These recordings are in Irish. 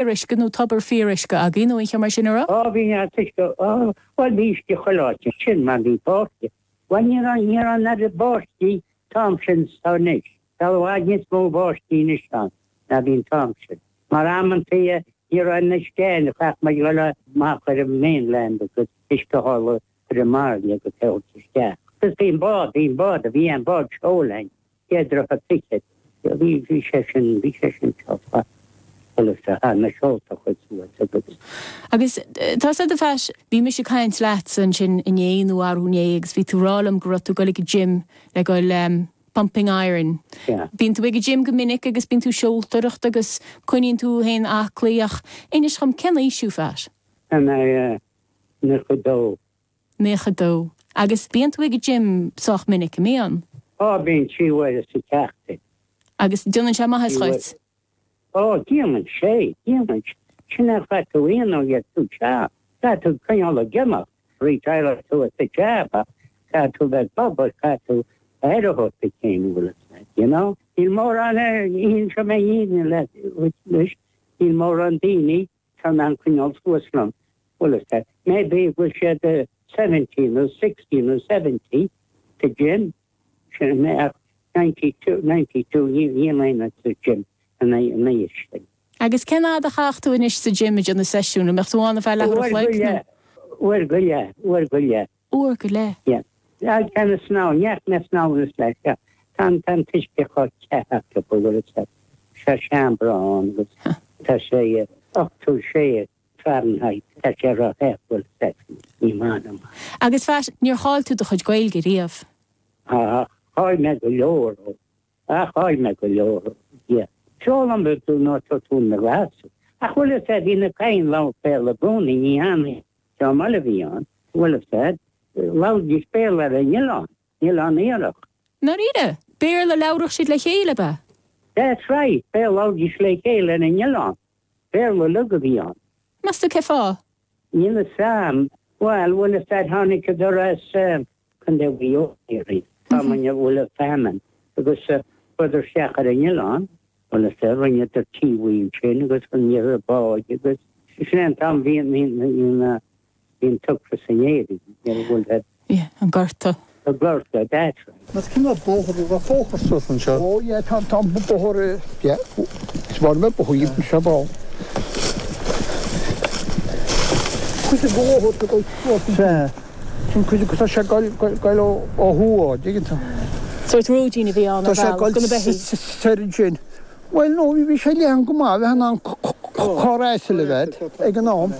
Fíoruisce nó tobar fíoruisce agaibh nó aon cheo mar sin a raibh? Á bhí neart uisce, á bhuel bhí uisce chuile áit ansin mar bhí báistí, bhuel ní raibh, ní raibh an oiread báistí an t-am sin is atá anois, tá i bhfad níos mó báistí anois ann ná bhí an t-am sin. Mar amantaí ní raibh an uisce ann, chaithfeadh muid dhul amach ar an mainland agus uisce a fháil ar an mbairille agus é a thabhairt isteach. Agus bhí an bád, bhí an bád, bhí an bád seoil ann Sé droichead fichead. Bhí, bhí sé sin, bhí sé sin sách maith. Bhuel, is ea, na seolta a chur suas agus. Agus tá 's a'd a Phat, bhí mise ag caint leatsa ansin inné nó arú inné agus bhí tú rá liom go raibh tú ag dul ag an gym le goil em pumping iron. Yeah. Bíonn tú ag an gym go minic agus bíonn tú seoltóireacht agus coinníonn tú féin aclaí ach inis dhom cén aois thú Phat? Tá mé 92. 92. Agus bíonn tú ag an gym sách minic, an mbíonn? Á, bíonn, 3 huaire sa tseachtain. Agus déanann sé maitheas dhuit? Á, déanann sé, déanann sé. Sin é, caithfidh tú aon uair tú sea, caithfidh tú coinneáil ag imeacht, retireoidh tú as an jab ach caithfidh tú bheith ag obair, caithfidh tú aire a thabhairt duit féin, an bhfuil a fhios agat, you know? Níl mórán, inseoidh mé fhírinne leat anois, níl mórán daoine Tá in ann coinneáil suas liom, bhfuil a fhios agat. Maybe go bhfuil siad 70 nó 60 nó 70 sa gym, sin mé ach 92, 92, níl aon sa gym an aois sin. Agus cén fhad a chaithfeadh tú anois sa gym ag déanamh seisiún? An mbeadh tú ann ar feadh leathuair a Uair chloig go nó? leith, uair go leith, uair go leith. Uair go leith? Yeah. Tá na snámh, ní fhaca mé snámh anois leis, yeah. Tá an, tá an t-uisce chomh te acu, bhfuil a fhios agat. Tá seomra ann agus tá sé 86 Fahrenheit, tá sé ró-the, bhfuil a fhios agat, ní maith liom. Agus Phat, níor chaill tú do chuid Gaeilge riamh? Á, chaill mé go leor, ó. Á, chaill mé go leor, yeah. D'fhoghlaim tú nó tá tú ina ghlas. Ach bhfuil a fhios agat, bhí na Cadhain ag labhairt Béarla i gcónaí, ní hann Seo an baile a bhí ann, bhfuil a fhios agat, labhraídís Béarla ar an oileán, Oileán Iarthach. Ndáiríre? Béarla a labhradh siad le chéile, ab ea? That's right, Béarla a labhraídís le chéile ar an oileán. Béarla uilig a bhí ann. Meas tú cé fáth? Níl a fhios a'm. Bhuel, bhfuil a fhios agat, tháinigeadar as Contae Mhaigh Eo, déarfainn, am a bhfuil a famine, agus chuadar isteach ar an oileán, bhfuil a fhios agat, rinneadar tí ansin agus rinneadar báid agus sin é an t-am bhí an, bhí an, bhí an t-ocras in Éirinn, ní raibh bhfuil a. Yeah, an gorta. The gorta, that's right. Mas cén bóthar, an raibh bóthar suas anseo? Ó yeah, tá, tá bóthar, yeah, is maith liom bóthar anseo ball. Cuid den bhóthar go dul suas anseo. Sea, sin cuid, tá sé ag goil ó thuaidh, an dtuigeann tú. Sórt róidín a bhí ann ar bhealach do na beithígh. Tá sé ag goil soir ansin. Bhuel, no, bhí sé leathan go maith, bheith in ann carr asail a bheith ag an am.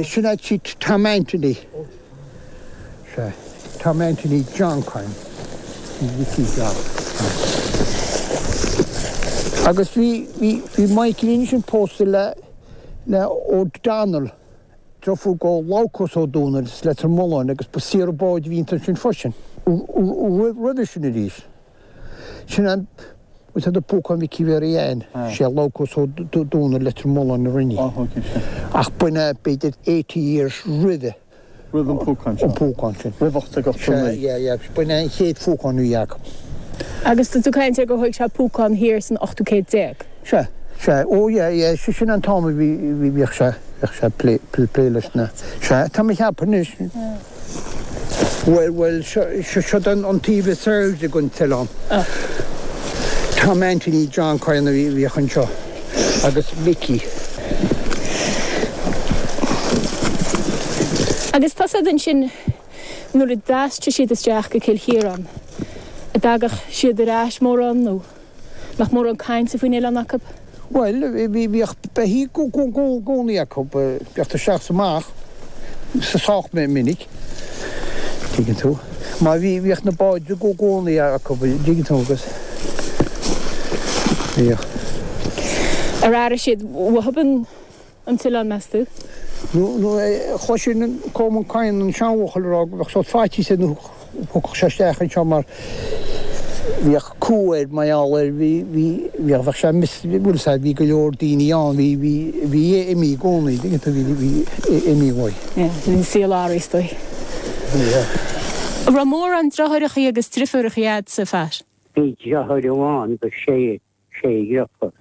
Sin é tí Tom Anthony. Sea, Tom Anthony John Coyne. Bhí John. Agus bhí, bhí, bhí Michael ansin pósta le, le O'Donnell, deirfiúr go Labhcás Ó Dónaill as Leitir Mealláin agus ba saothar báid a bhí iontu sin freisin. Roimhe sin arís, sin an bhfuil tú Púcán Mhicí Mhéaraí Ann, sé Labhcás Ó Dónaill Leitir Mealláin a rinne í. Ach b'in é b'fhéidir 80 years roimhe. Roimh an púcán seo. An púcán sin. Roimh 1889. Sea, yeah, yeah. B'in é an chéad phúcán a bhí acu. Agus tá tú ag caint ar gur thóig sé púcán thiar san ochtú céad déag. Sea, sea. Ó, yeah, yeah. Sin an t-am a bhí, bhíodh sé, bhíodh sé ag plé, plé leis na, sea, tá mé ag ceapadh anois. Bhuel, bhuel, seo, seo an, an taobh is airde den t-oileán. Tom Anthony John Coyne a bhíodh anseo agus Mickey. Agus tá siad ansin nuair a d'aistrigh siad isteach go Cill Chiaráin, an dtagadh siad ar ais mórán nó nach mórán cainte faoin oileán acu? Bhuel, bhíodh beithígh i gcónaí acu, bhíodh isteach is amach sách minic, tuigeann tú. Mar bhí, bhíodh na báid i gcónaí acu, tuigeann tú, agus bhíodh. Ar airigh siad uathub an t-oileán, meas tú? Nó, nó chloisinn Colman Coyne, an seanbhuachaill, ag rá go mbeadh sórt faitíos air nuair a thiocfadh sé isteach anseo mar bhíodh cumha air mar gheall air, bhí, bhí, bhíodh, bheadh sé mis, bhfuil fhios a'd, bhí go leor daoine ann, bhí, bhí, bhí imní i gcónaí, dtuigeann tú, bhí, bhí imní uaidh. Yeah, bhí an saol athraithe is dóigh. Yeah. An raibh mórán deartháireachaí agus driofúrachaí a'dsa, a Phat? Bhí deartháir amháin agus sé. sé dheirfiúr.